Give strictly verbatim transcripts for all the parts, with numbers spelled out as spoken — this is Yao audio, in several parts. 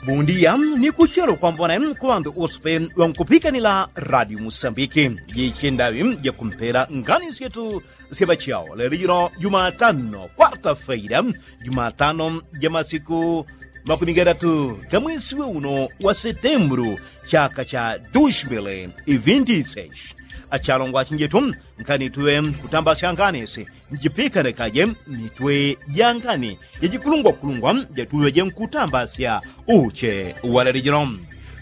Bundiya ni kuchelo kwambone kuŵandu usupe ŵankupikanila radio musambiki. Jichendaŵi jakumpela ngani syetu sya ŵachao lelo jilo jumatano kwarta feira, jumatano ja masiku makumi gatatu ga mwesi we uno wa setembulu chaka cha dushimile ivintiseshi. Achalongwa achinjetu, nkani tuŵe kutambasya ngani si njipikanekaje mitwe ja ngani jajikulungwakulungwa jatuŵeje nkutambasya uche walele jino.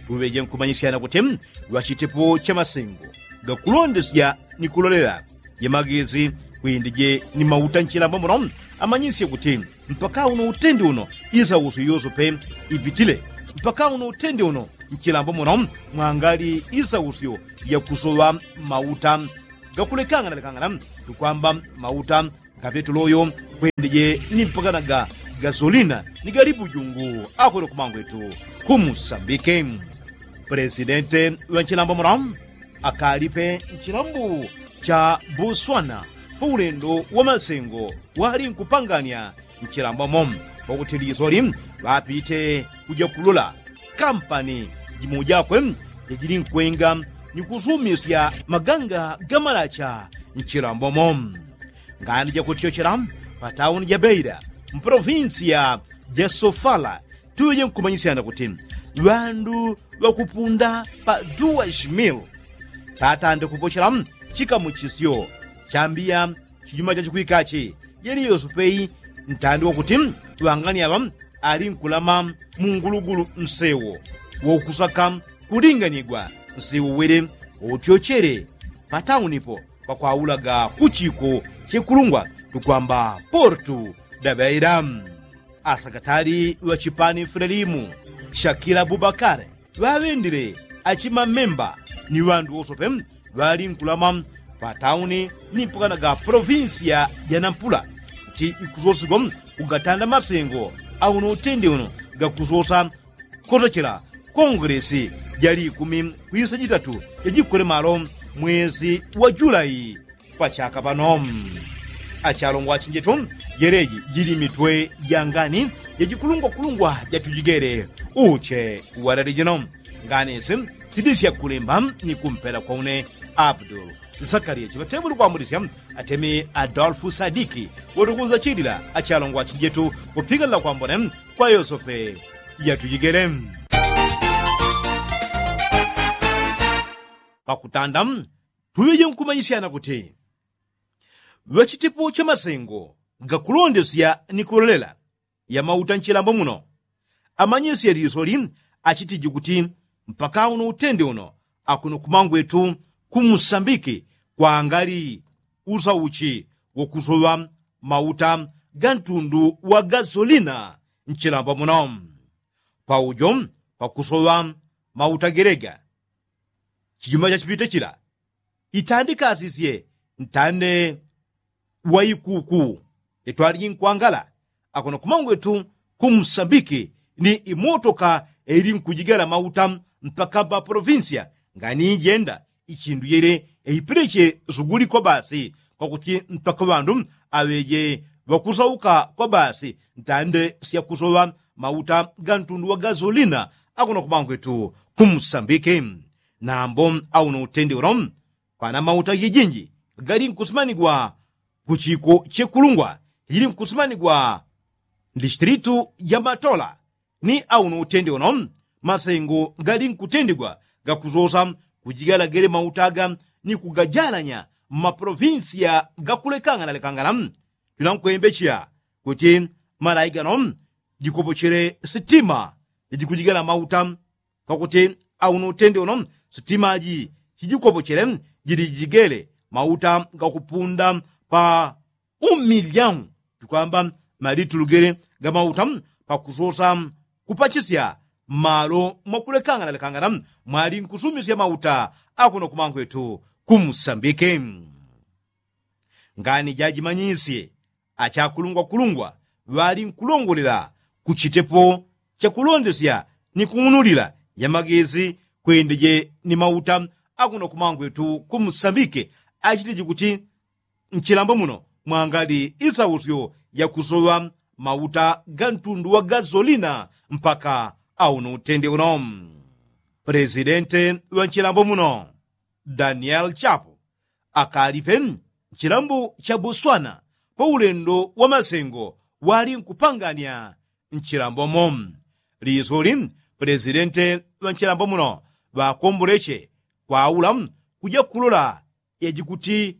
Tuŵeje nkumanyisyana kuti ŵachitepo cha masengo gakulondesya ni kulolela jemagezi kwindije ni mauta nchilambo muno amanyisye kuti mpaka uno utende uno isausyo yosope ipitile. Mpaka uno utende uno nchilambo muno mwangali isausyo yakusoŵa mauta gakulekangana lekangana tukwamba mauta ga petuloyo kwendije ni mpakanaga gasolina ni galibujungu akwele kumangwetu kumusambike. Pulesidente ŵa nchilambo muno akalipe nchilambo cha buswana pa ulendo wa masengo wali nkupanganya nchilambomo pakuti lisoli ŵapite kuja kulola kampani jimo jakwe jajili nkwenga ni kusumisya maganga ga malacha nchilambomo. Ngani jakutyochela pa tauni ja beira mpolovinsiya ja sofala tuŵeje nkumanyisyana kuti ŵandu ŵakupunda pa duwa shimilu tatande kupochela chikamuchisyo chambiya chijuma chachikwikachi yeli yosopeyi ntandi wakuti ŵangani aŵa ali nkulama mungulugulu nsewo wokusaka kulinganigwa nsewo wele wotyochele pataunipo pakwaulaga kuchiko chekulungwa tukwamba portu dabeira. Asakatali ŵa chipani filelimu shakila bubakare ŵaŵendile achimamemba ni ŵandu wosope ŵali nkulama patauni ni mpakanaga polovinsiya ja nampula kuti ikusosigwa kugatanda masengo auno utende uno gakusosa kotochela kongelesi jali ikumi kwisa jitatu jajikwele malo mwezi wa julai. Pachaka pano achalongwa achinjetu jeleji jili mitwe ja ngani jajikulungwakulungwa jatujigele uche walele jino. Ngani isi sidisya kulemba ni kumpela kwa une abdul zakariya chiŵatebuli kwambulisya atemi adolfu sadiki wotukunza chilila achalongwa achinjetu kupikanila kwambone kwa yosope yatujigele. Pakutanda tuŵeje nkumanyisyana kuti ŵachitepo cha masengo gakulondesya ni kulolela ya mauta nchilambo muno amanyisye lisoli achitiji kuti mpaka uno utende uno akuno kumangwetu kumusambiki kwangali usauchi wokusoŵa mauta ga ntundu wa gasolina nchilambo muno paujo pakusoŵa mauta gelega chijuma chachipite chila itandikasisye ntande wa ikuku itwaliji nkwangala akuno kumangwetu kumusambiki ni imotoka ili nkujigala mauta mpaka pa polovinsiya ngani ijenda ichindu yele eipileche suguli kwa basi kwakuti mpaka ŵandu aŵeje ŵakusauka kwa basi ntande syakusoŵa mauta ga ntundu wa gasolina akuno kumangwetu kumusambiki. Nambo auno utende uno kwana mauta jijinji gali nkusimanigwa kuchiko chekulungwa jili nkusimanigwa ndistilitu ja matola ni auno utende uno masengo gali nkutendigwa gakusosa kujigala gele mauta aga ni kugajalanya mmapolovinsiya gakulekangana lekangana. Tuna nkwembecheya kuti malai gano jikopochele sitima jikujigala mauta kwakuti auno utende uno sitimaji sijikopochele jili jigele mauta gakupunda pa umilyamu tukwamba malitulugele ga mauta pakusosa kupachisya mmalo mwakulekangana lekangana mwali nkusumisya mauta akuno kumangwetu kumusambike. Ngani jajimanyisye achakulungwakulungwa ŵali nkulongolela kuchitepo chakulondesya ni kung'unulila yamagezi kwendeje ni mauta akuno kumangwetu kumusambike achiteji kuti nchilambo muno mwangali isausyo yakusoŵa mauta ga ntundu wa gasolina mpaka Au ni utende uno. Presidente wa nchilambo muno daniel chapo akalipe nchilambo cha boswana pa ulendo wa masengo wali nkupanganya nchilambo mo. Lisoli presidente wa nchilambo muno ŵakomboleche kwaula kuja kulola yaji kuti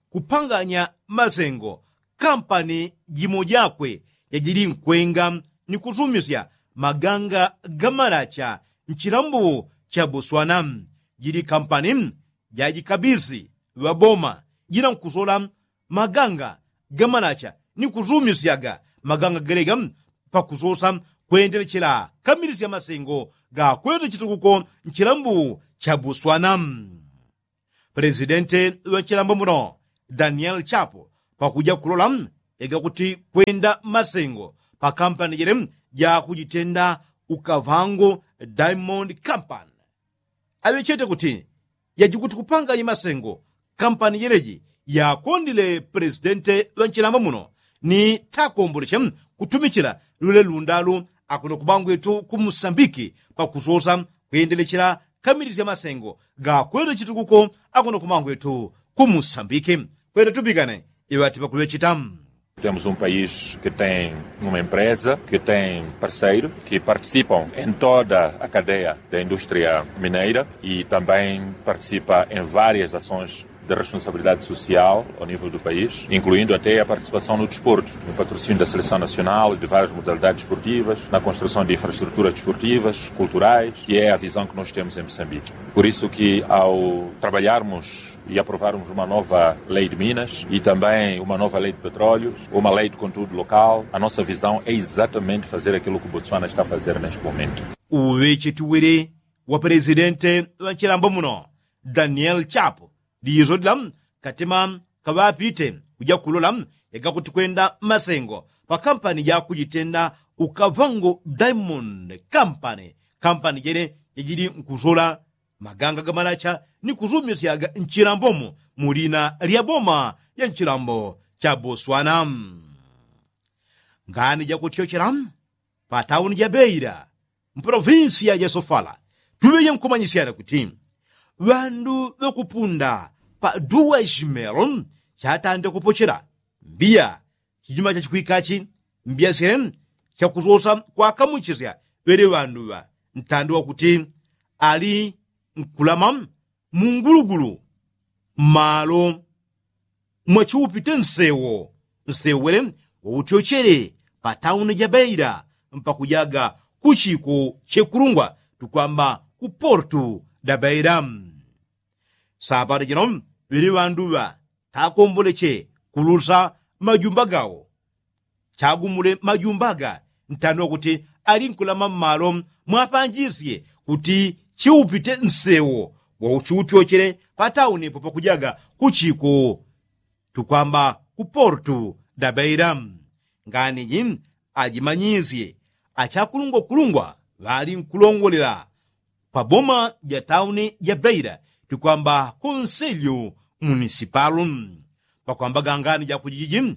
kupanganya masengo kampani jimo jakwe jajili nkwenga ni kusumisya maganga ga malacha nchilambo cha boswana. Jili kampani jajikabisi ŵaboma jila nkusola maganga ga malacha ni kusumisyaga maganga gelega pakusosa kwendelechela kamilisya masengo gakwete chitukuko nchilambo cha boswana. Presidente wa nchilambo muno daniel chapo pakuja kulola ega kuti kwenda masengo pa kampani jele jakujitenda ukavango diamond kampani aŵechete kuti yaji kuti kupanganya masengo kampani jeleji yakondile presidente wa nchilambo muno ni takomboleche kutumichila lule lundalu akuno kubangwetu ku musambiki pakusosa kwendelechela kamilisya masengo gakwete chitukuko akuno kumangwetu ku musambiki kwete tupikane iŵati pakuŵechita. Temos um país que tem uma empresa, que tem parceiro que participam em toda a cadeia da indústria mineira e também participa em várias ações de responsabilidade social ao nível do país, incluindo até a participação no desporto, no patrocínio da seleção nacional e de várias modalidades desportivas, na construção de infraestruturas desportivas, culturais, que é a visão que nós temos em Moçambique. Por isso que, ao trabalharmos e aprovarmos uma nova lei de minas e também uma nova lei de petróleo, uma lei de conteúdo local, a nossa visão é exatamente fazer aquilo que o Botswana está a fazer neste momento. Uŵechetiwile wa presidente wa nchilambo muno daniel chapo lizo lila katema kaŵapite kuja kulola ega kuti kwenda masengo pa kampani jakujitenda ukavango diamond kampani kampani jene jajili nkusola maganga ga malacha ni kusumisyaga nchilambomo mu lina lya boma ya nchilambo cha boswana. Ngani jakutyochela pa tauni ja beila mpolovinsiya ja sofala tuŵeje nkumanyisyana kuti ŵandu ŵakupunda pa duwa jimelo chatande kupochela mbiya chijima chachikwikachi mbiya syele chakusosa kwakamuchisya ŵele ŵandu ŵa ntande wakuti ali nkulama mungulugulu mmalo mwachiupite nsewo nsewo wele wautyochele pa tauni ja beila mpakujaga ku chiko chekulungwa tukwamba ku portu da beila. Sapato jino ŵili ŵandu ŵa takomboleche kulusa majumba gawo chagumule majumba ga ntani wakuti ali nkulama mmalo mwapanjisye kuti chiupite nsewo wauchiutyochele pa tauni po pakujaga ku chiko tukwamba ku portu da beila. Ngani ji ajimanyisye achakulungwa kulungwa ŵali nkulongolela pa boma ja tauni ja beila tikwamba konselyo munisipalu pakwamba gangani jakujiji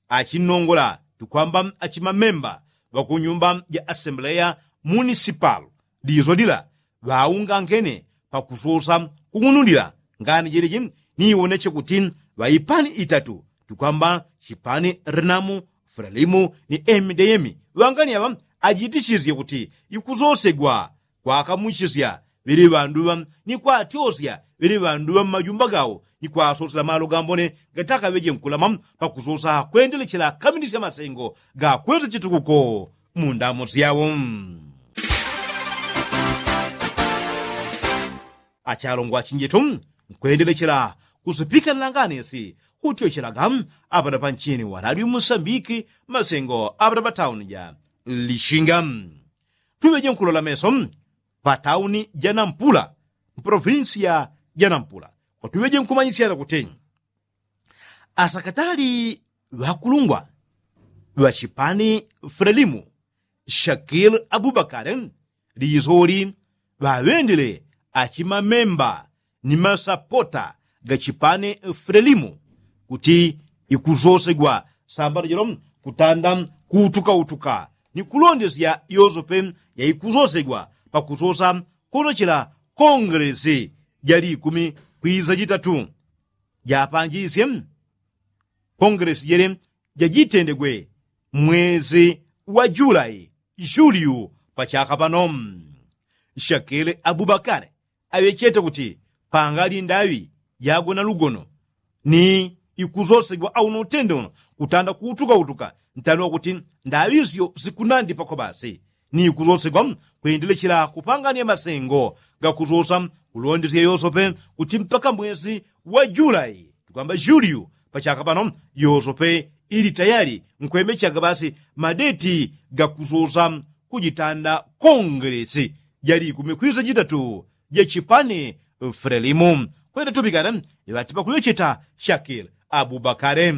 achinongola tikwamba achimamemba ŵakunyumba ja asembleya munisipalu dizo dila ŵaungangene pakusosa kung'unulila ngani jeleji ni iwoneche kuti ŵaipani itatu tikwamba chipani rinamu fralimu ni emideyemi ŵangani aŵa ajitisisye kuti ikusosegwa kwakamuchisya ŵili ŵandu ŵa ni kwatyosya ŵili ŵandu ŵa mmajumba gawo ni kwasosela malo gambone gatakaŵeje nkulama pakusosa kwendelechela kamilisya masengo gakwete chitukuko mu ndamu syawo. Achalongwa chinjitu nkwendelechela kusipika nlanganisi kutyochelaga apanapa nchini wa radio musambiki masengo apatapa tauni ja lishinga tuŵeje nkulola meso pa tauni ja nampula mpolovinsiya ja nampula kwatuŵeje nkumanyisyana kuti asakatali ŵakulungwa ŵachipani frelimu shakil abubakare lizoli ŵaŵendele achimamemba ni masapota ga chipani frelimu kuti ikusosegwa sambano jelo kutanda kuutukautuka Ikulondesya yosope yaikuzosegwa pakusosa kolochela kongelesi ja likumi kwiza jitatu. Japanjisye kongelesi jele jajitendegwe mwezi wa julai juliu pachaka pano. Shakele abubakale aŵechete kuti pangali ndaŵi jagona lugono ni ikusosegwa auno utende uno kutanda kuutukautuka ntani wakuti ndaŵi syo sikunandi pako basi ni ikusosegwa kwendelechela kupangania masengo gakusosa kulondesya yosope kuti mpaka mwesi wa julai tukwamba juliu pachaka pano yosope ili tayali nkwemechaga basi madeti gakusosa kujitanda kongelesi ja likumi kwiza jitatu ja chipani frelimu kwenda tupikana iŵatipa kuyocheta shakil abubakare.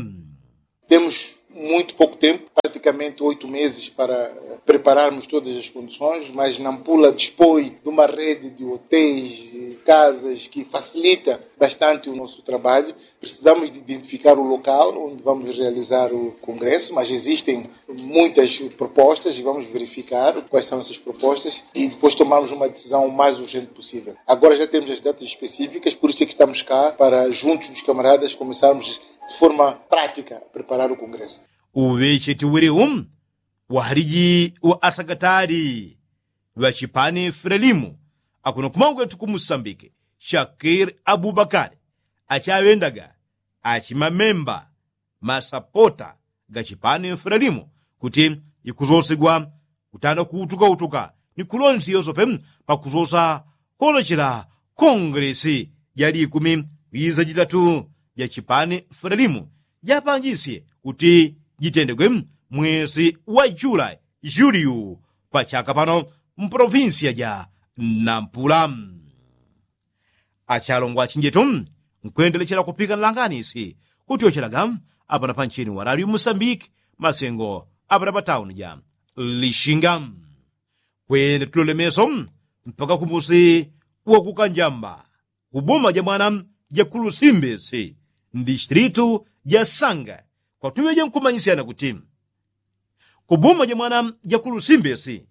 Temos muito pouco tempo, praticamente oito meses para prepararmos todas as condições, mas nampula dispõe de uma rede de hotéis e casas que facilita bastante o nosso trabalho. Precisamos de identificar o local onde vamos realizar o congresso, mas existem muitas propostas e vamos verificar quais são essas propostas e depois tomarmos uma decisão o mais urgente possível. Agora já temos as datas específicas, por isso é que estamos cá, para juntos dos camaradas começarmos de forma prática a preparar o congresso. Uŵecheti wili u wahaliji wa asagatali ŵa chipani frelimu akuno kumangwetu kumusambike shakil abubakari achaŵendaga achimamemba masapota ga chipani frelimu kuti ikusosegwa kutanda kuutukautuka ni kulonsi yosope pakusosa kolochela kongelesi ja likumi kwiza jitatu ja chipani frelimu japanjisye kuti jitendegwe mwesi wa julai juliu pachaka pano mpolovinsiya ja nampula. Achalongwa achinjetu nkwendelechela kupikana langanisi kutyochelaga apana pancheni wa raliu musambiki masengo apana patauni ja lishinga kwenda tulole meso mpaka kumusi wa kukanjamba kuboma ja mwana ja kulusimbisi mdistritu ja sanga kwatuŵeje nkumanyisyana kuti kuboma ja mwana ja kulusimbisi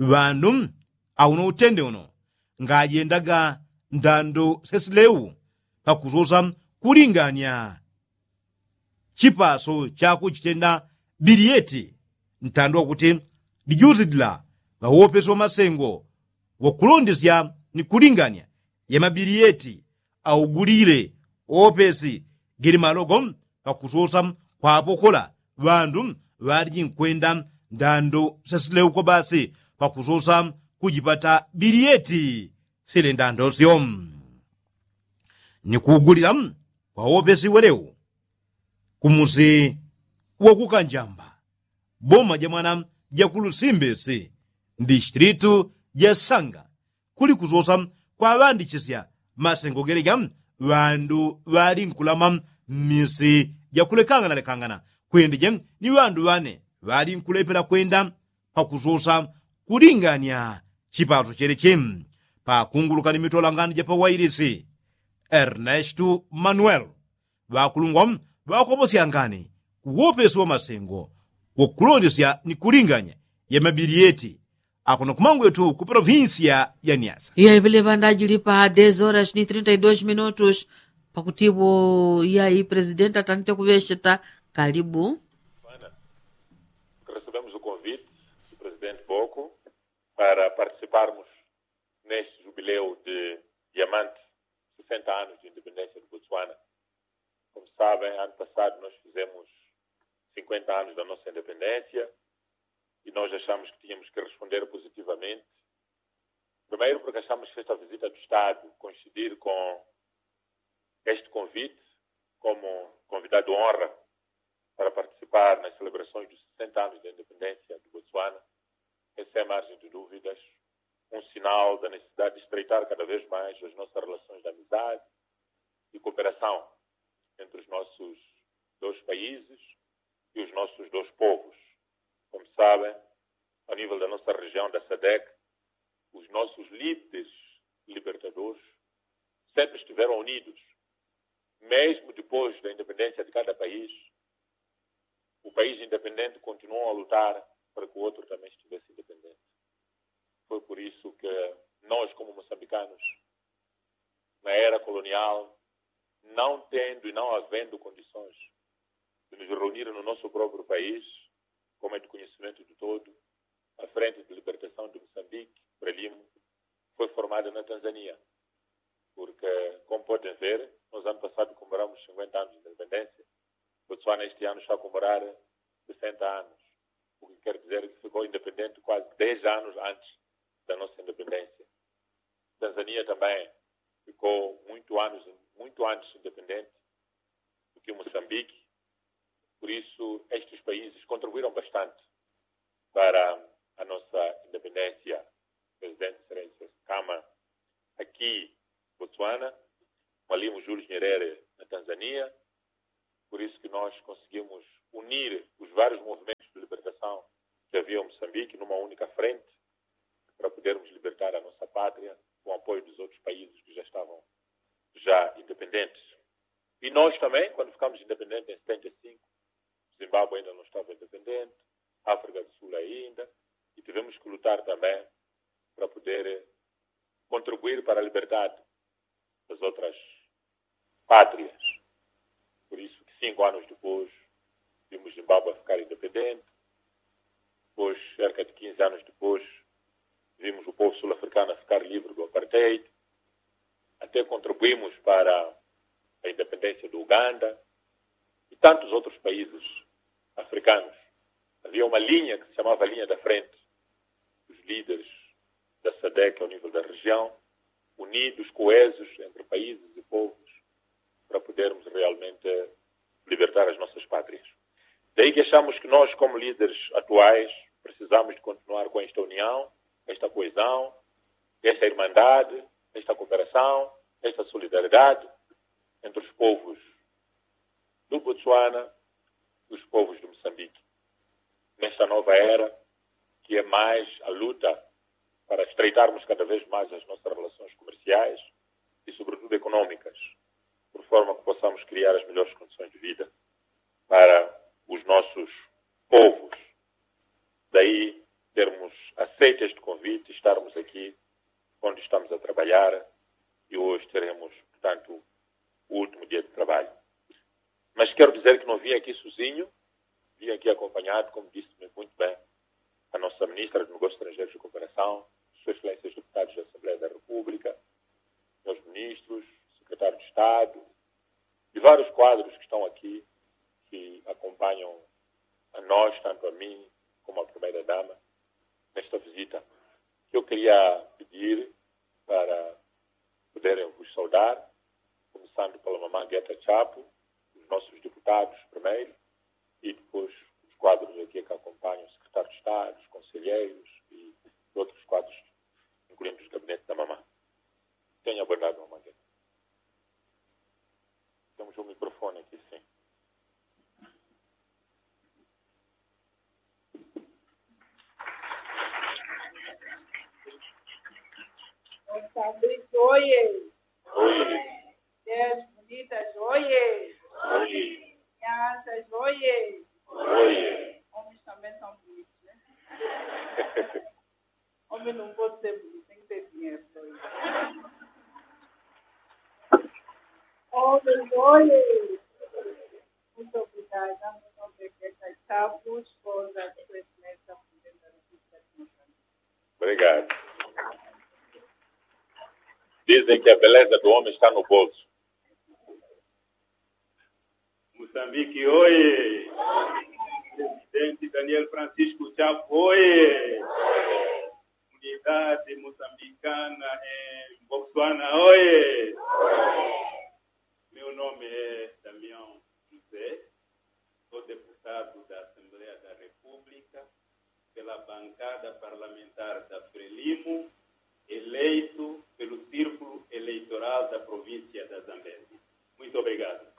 ŵandu auno utende uno ngajendaga ndando sesileu pakusosa kulingania chipaso chakuchitenda biliyeti ntando wakuti lijusi lila ŵawopesi wa masengo wakulondesya ni kulingania ya mabiliyeti augulile opesi gili malogo pakusosa kwapokola ŵandu ŵaliji nkwenda ndando sesileu kobasi pakusosa kujipata biliyeti sile ndando syo ni kuugulila kwa opesi weleu kumusi wa kukanjamba boma ja mwana ja kulusimbisi mdistritu ja sanga kuli kusosa kwaŵandichisya masengo geleja ŵandu ŵali nkulama mmisi ja kulekanganalekangana kwendeje ni ŵandu ŵane ŵali nkulepela kwenda pakusosa kulingania chipaso chelechi pakunguluka ni mitolangani ja pawailisi ernestu manuel ŵakulungwa ŵakoposyangani kuwopesi wa masengo wakulondesya ni kulinganya ya mabiliyeti akuno kumangwetu ku polovinsiya ya niasa. Iya ipeleŵa ndajili pa dez horas ni trinta i dos minutos pakutipo iya i presidenti atandite kuŵesheta. Kalibu. Recebemos o convite do presidente boko para participarmos neste jubileu de diamante sessenta anos de independência do botswana. Como sabem, ano passado nós fizemos cinquenta anos da nossa independência e nós achamos que tínhamos que responder positivamente. Primeiro porque achamos que esta visita do estado coincidir com este convite como convidado de honra para participar nas celebrações dos sessenta anos da independência do botswana é sem margem de dúvidas um sinal da necessidade de estreitar cada vez mais as nossas relações de amizade e cooperação entre os nossos dois países e os nossos dois povos. Como sabem, ao nível da nossa região da sadec, os nossos líderes libertadores sempre estiveram unidos, mesmo depois da independência de cada país. O país independente continuou a lutar para que o outro também estivesse independente. Foi por isso que nós, como moçambicanos, na era colonial, não tendo e não havendo condições de nos reunir no nosso próprio país, como é de conhecimento de todo, a Frente de Libertação de Moçambique, Frelimo, foi formada na Tanzânia, porque, como podem ver, nós ano passado comemoramos cinquenta anos de independência, Botsuana este ano está a comemorar sessenta anos, o que quer dizer que ficou independente quase dez anos antes da nossa independência. Tanzânia também ficou muito anos, muito antes independente do que Moçambique. Por isso, estes países contribuíram bastante para a nossa independência. Presidente Excelência Kama aqui, Botsuana, Mwalimu Julius Nyerere na Tanzânia. Por isso que nós conseguimos unir os vários movimentos de libertação que havia em Moçambique numa única frente, para podermos libertar a nossa pátria com o apoio dos outros países que já estavam já independentes. E nós também, quando ficamos independentes em setenta e cinco, Zimbábue ainda não estava independente, África do Sul ainda, e tivemos que lutar também para poder contribuir para a liberdade das outras pátrias. Por isso que cinco anos depois vimos Zimbábue ficar independente, depois, cerca de quinze anos depois, vimos o povo sul-africano ficar livre do apartheid, até contribuímos para a independência do Uganda e tantos outros países africanos. Havia uma linha que se chamava Linha da Frente, os líderes da sadec ao nível da região, unidos, coesos entre países e povos, para podermos realmente libertar as nossas pátrias. Daí que achamos que nós, como líderes atuais, precisamos de continuar com esta união, esta coesão, esta irmandade, esta cooperação, esta solidariedade entre os povos do Botsuana e os povos de Moçambique, nesta nova era, que é mais a luta para estreitarmos cada vez mais as nossas relações comerciais e, sobretudo, econômicas, por forma que possamos criar as melhores condições de vida para os nossos povos. Daí termos aceito este convite, estarmos aqui onde estamos a trabalhar, e hoje teremos, portanto, o último dia de trabalho. Mas quero dizer que não vim aqui sozinho, vim aqui acompanhado, como disse muito bem a nossa Ministra de Negócios Estrangeiros e Cooperação, Suas Excelências Deputados da Assembleia da República, meus ministros, secretário de Estado, e vários quadros que estão aqui, que acompanham a nós, tanto a mim como a Primeira-Dama, nesta visita. Que eu queria pedir para poderem vos saudar, começando pela mamã Gueta Chapo, os nossos deputados primeiro, e depois os quadros aqui que acompanham, o secretário de Estado, os conselheiros e outros quadros, incluindo os gabinetes da mamã. Tenha a bondade, mamã Gueta. Temos um microfone aqui, sim. Moçambique, oiê! Oiê! Mulheres bonitas, oiê! Oiê! Crianças, oiê! Oiê! Homens também são bonitos, né? Homem não pode ser bonito, tem que ter dinheiro. Homens, oiê! Muito obrigada. Meu nome é Gueta Chapo, esposa do presidente da República de Moçambique. Obrigado. Dizem que a beleza do homem está no bolso. Moçambique, oiê! Presidente Daniel Francisco Chapo, oiê! Comunidade moçambicana em Botsuana, oiê! Meu nome é Damião José, sou deputado da Assembleia da República pela bancada parlamentar da Frelimo, eleito pelo Círculo Eleitoral da Província da Zambésia. Muito obrigado.